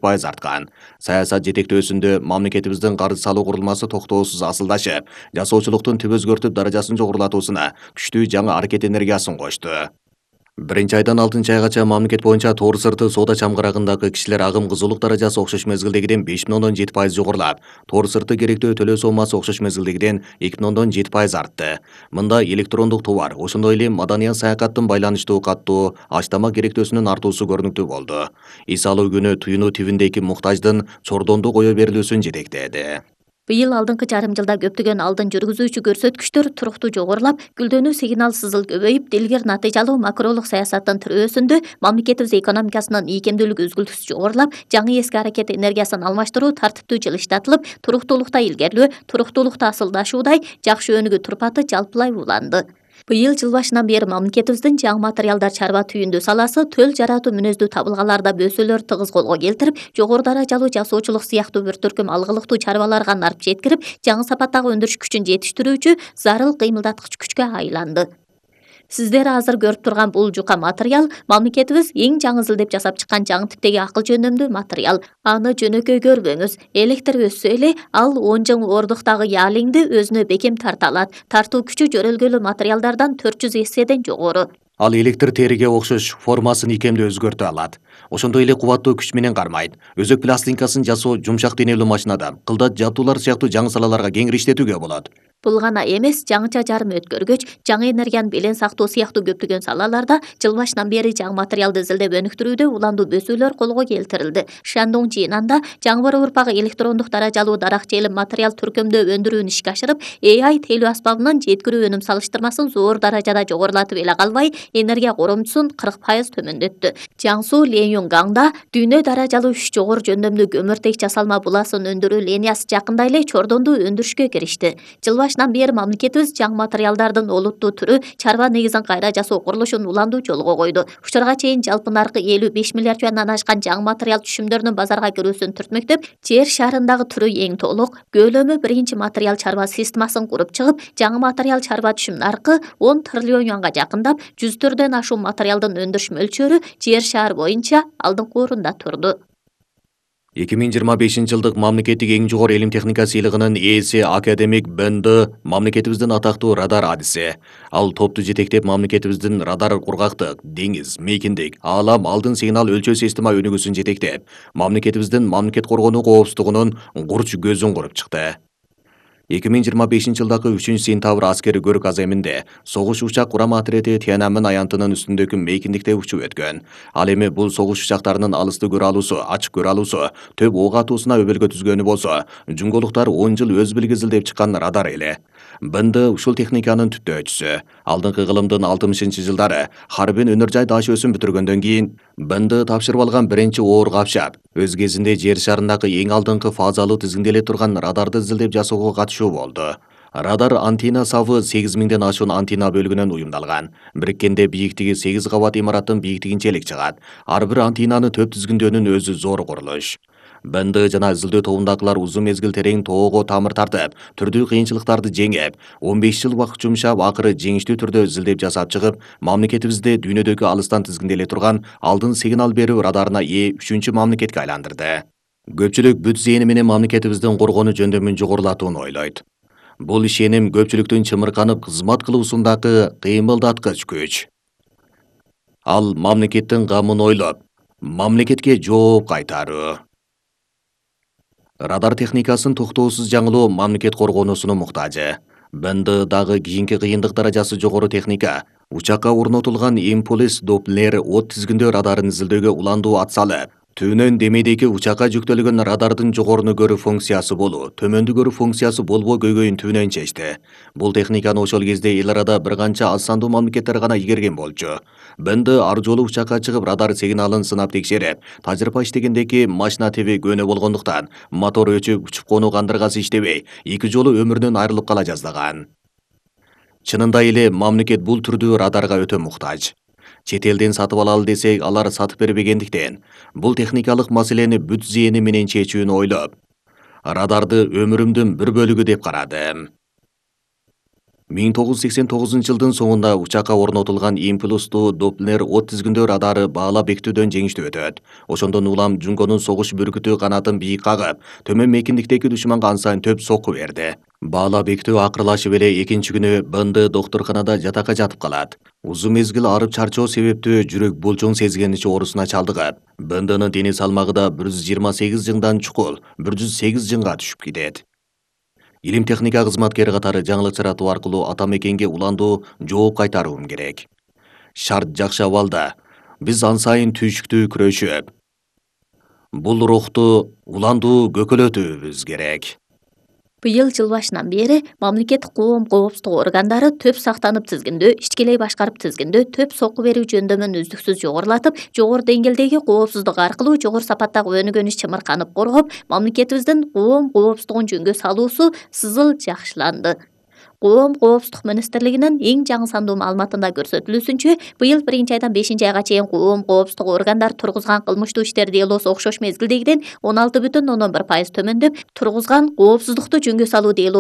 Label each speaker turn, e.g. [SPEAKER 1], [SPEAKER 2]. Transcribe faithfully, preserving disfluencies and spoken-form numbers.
[SPEAKER 1] пайыз арткан. Саясат жетектөөсүндө мамлекетибиздин карыз салуу курулмасы токтоосуз асылдашып, жасоочулуктун түп өзгөртүп даражасын жогорулатуусуна күчтүү жаңы аракет энергиясын кошту. Биринчи айдан алтынчы айгача мамлекет боюнча тоор сырты соода чамгарагындагы кишилер агым кызуулук даражасы окшош мезгилдегиден беш бүтүн ондон жети пайыз жогорулап, тоор сырты керектөө төлөө сомасы окшош мезгилдегиден эки бүтүн ондон жети пайыз артты. Мында электрондук товар, ошондой эле маданий саякаттын байланыштуу каттоо, ач-тамак керектөөсүнүн артуусу көрүнүктүү болду. Эс алуу күнү туюну тибиндеги муктаждын чордондо кое берилүүсүн жетектеди.
[SPEAKER 2] Быйыл алдыңкы жарым жылда көптөгөн алдын жүргүзүүчү көрсөткүчтөр туруктуу жогорулап, гүлдөнүү сигнал-сызыл көбөйүп, дилгер натыйжалуу макролук саясаттын тирөөсүндө мамлекетибиз экономикасынын ийкемдүүлүгү үзгүлтүсүз жогорулап, жаңы эски аракет энергиясын алмаштыруу тартиптүү жылыштатылып, туруктуулукта илгерилөө, туруктуулукта асылдашуудай жакшы өнүгүү турпаты жалпылай уланды. Быйыл жыл башынан бери мамлекетибиздин жаңы материалдар чарба түйүндүү саласы төл жаратуу мүнөздүү табылгаларда бөөсөлөр тыгыз колго келтирип, жогору даражалуу жасоочулук сыяктуу бир төркүм алгылыктуу чарбаларга нарып жеткирип, жаңы сапаттагы өндүрүш күчүн жетиштирүүчү зарыл кыймылдаткыч күчкө айланды. Сиздер азыр көрүп турган бул жука материал мамлекетибиз эң жаңы деп жасап чыккан жаңы типтеги акыл жөндөмдүү материал. Аны жөнөкөй көрбөңүз. Электр өссө эле ал он жыл ордуктагы ялиңди өзүнө бекем тарта алат. Тартуу күчү жөрөлгөлүү материалдардан төрт жүз эседен жогору.
[SPEAKER 1] Ал электр териге окшош формасын икемдүү өзгөртө алат. Ошондой эле кубаттуу күч менен кармайт. Өзөк пластинкасын жасоо жумшак денелүү машинада, кылдат жабдуулар сыяктуу жаңы салаларга кеңири иштетүүгө болот.
[SPEAKER 2] Бул гана эмес, жаңыча жарым өткөргөч, жаңы энергияны белең сактоо сыяктуу көптөгөн салаларда жыл башынан бери жаңы материалды изилдеп өнүктүрүүдө уландуу бөөсөлөр колго келтирилди. Шандон Чинанда жаңы урпагы электрондук даражалуу даракчелим материал түркөмдөө өндүрүүнү ишке ашырып, A I тейлөө аспабынын жеткирүү өнүм салыштырмасын зор даражада жогорулатып эле калбай, энергия коромчусун кырк пайыз төмөндөттү. Жаңсу Ленюнгаңда дүйнө даражалуу үч жогору жөндөмдүү көмүртек жасалма буласын өндүрүү линиясы жакында эле чордонду өндүрүшкө киришти. Жыл башынан бери мамлекетибиз жаңы материалдардын олуттуу түрү чарба негизин кайра жасоо курулушун уландуу жолго койду. Учурга чейин жалпы наркы элүү беш миллиард юандан ашкан жаңы материал түшүмдөрүнүн базарга кирүүсүн түртмөктөп, жер шарындагы түрү эң толук, көлөмү биринчи материал чарба системасын куруп чыгып, жаңы материал чарба түшүм наркы он триллион юанга жакындап, жүздөрдөн ашуун материалдын өндүрүш мөлчөрү жер шаар боюнча алдыңкы орунда турду.
[SPEAKER 1] эки миң жыйырма бешинчи жылдык мамлекеттик эң жогору илим техника сыйлыгынын ээси академик Бенды мамлекетибиздин атактуу радар адиси. Ал топту жетектеп мамлекетибиздин радар кургактык, деңиз, мейкиндик, аалам алдын сигнал өлчөө система өнүгүүсүн жетектеп, мамлекетибиздин мамлекет коргонуу коопсуздугунун курч көзүн куруп чыкты. эки миң жыйырма бешинчи жылдагы үчүнчү сентябрь аскери көрүк аземинде согуш учак курам отрети Тиананмын аянтынын үстүндөгү мейкиндикте учуп өткөн. Ал эми бул согуш учактарынын алысты көрө алуусу, ачык көрө алуусу, төп ок атуусуна өбөлгө түзгөнү болсо, жуңголуктар он жыл өз билгизилдеп чыккан радар эле. Бынды ушул техниканын түптөөчүсү. Алдыңкы кылымдын алтымышынчы жылдары Харбин өнөр жай даш өсүм бүтүргөндөн кийин Бынды тапшырып алган биринчи оор капшап, өз кезинде жер шарындагы эң алдыңкы фазалуу тизгинделе турган радарды изилдеп жасоого катышуу болду. Радар антенна сабы сегиз миңден ашуун антенна бөлүгүнөн уюмдалган. Бириккенде бийиктиги сегиз кабат имараттын бийиктигинчелик чыгат. Ар бир антеннаны төп тизгиндөөнүн өзү зор курулуш. Бенды жана изилдөө тобундагылар узун мезгил терең тоого тамыр тартып, түрдүү кыйынчылыктарды жеңип, он беш жыл убакыт жумшап, акыры жеңиштүү түрдө изилдеп жасап чыгып, мамлекетибизде дүйнөдөгү алыстан тизгинделе турган алдын сигнал берүү радарына ээ үчүнчү мамлекетке айландырды. Көпчүлүк бүт зээни менен мамлекетибиздин коргонуу жөндөмүн жогорулатууну ойлойт. Бул ишеним көпчүлүктүн чымырканып кызмат кылуусундагы кыймылдаткыч күч. Ал мамлекеттин камын ойлоп, мамлекетке жооп кайтаруу. Радар техникасын токтоосуз жаңылоо мамлекет коргоонусунун муктажы. Бенды дагы кийинки кыйындык даражасы жогору техника. Учакка орнотулган импульс доплер от тизгиндөө радарын изилдөөгө уландуу ат салып, түбүнөн демейдеги учакка жүктөлгөн радардын жогоруну көрүү функциясы болуу, төмөндү көрүү функциясы болбоо көйгөйүн түбүнөн чечти. Бул техниканы ошол кезде эл арада бир канча аз сандуу мамлекеттер гана игерген болчу. Бенды ар жолу учакка чыгып радар сигналын сынап текшерип, тажрыйба иштегендеги машина теби көөнө болгондуктан мотор өчүп, учуп конуу кандыргасы иштебей, эки жолу өмүрүнөн айрылып кала жаздаган. Чынында эле мамлекет бул түрдүү радарга өтө муктаж. Чет элден сатып алалы десек, алар сатып бербегендиктен, бул техникалык маселени бүт зээни менен чечүүнү ойлоп, радарды өмүрүмдүн бир бөлүгү деп карадым. миң тогуз жүз сексен тогузунчу жылдын соңунда учакка орнотулган импульстуу Доплер от тизгиндөө радары баалап бекитүүдөн жеңиштүү өтөт. Ошондон улам Жунгонун согуш бүркүтү канатын бийик кагып, төмөн мейкиндиктеги душманга ансан төп сокку берди. Баалап бекитүү акырлашып эле экинчи күнү БНД доктурканада жатакка жатып калат. Узун мезгил арып чарчоо себептүү жүрөк булчуң сезгеничи оорусуна чалдыгат. БНДнын дене салмагы да бир жүз жыйырма сегиз жыңдан чукул бир жүз сегиз жыңга түшүп кетет. Илим техника кызматкери катары жаңылык таратуу аркылуу ата мекенге уландуу жооп кайтарууум керек. Шарт жакшы абалда. Биз ан сайын түйшүктүү күрөшүп, бул рухту уландуу көкөлөтүүбүз керек.
[SPEAKER 2] Быйыл жыл башынан бери мамлекеттик коом коопсуздук органдары төп сактанып тизгиндөө, ичкилей башкарып тизгиндөө төп сокку берүү жөндөмүн үздүксүз жогорулатып, жогору деңгээлдеги коопсуздук аркылуу жогору сапаттагы өнүгөнүш чымырканып коргоп, мамлекетибиздин коом коопсуздугун жөнгө салуусу сызыл жакшыланды. Коом коопсуздук министрлигинин эң жаңы сандуу маалыматында көрсөтүлүүсүнчө, быйыл биринчи айдан бешинчи айга чейин коом коопсуздук органдары тургузган кылмыштуу иштер делосу окшош мезгилдегиден он алты бүтүн ондон бир пайыз төмөндөп, тургузган коопсуздукту жөнгө салуу делосу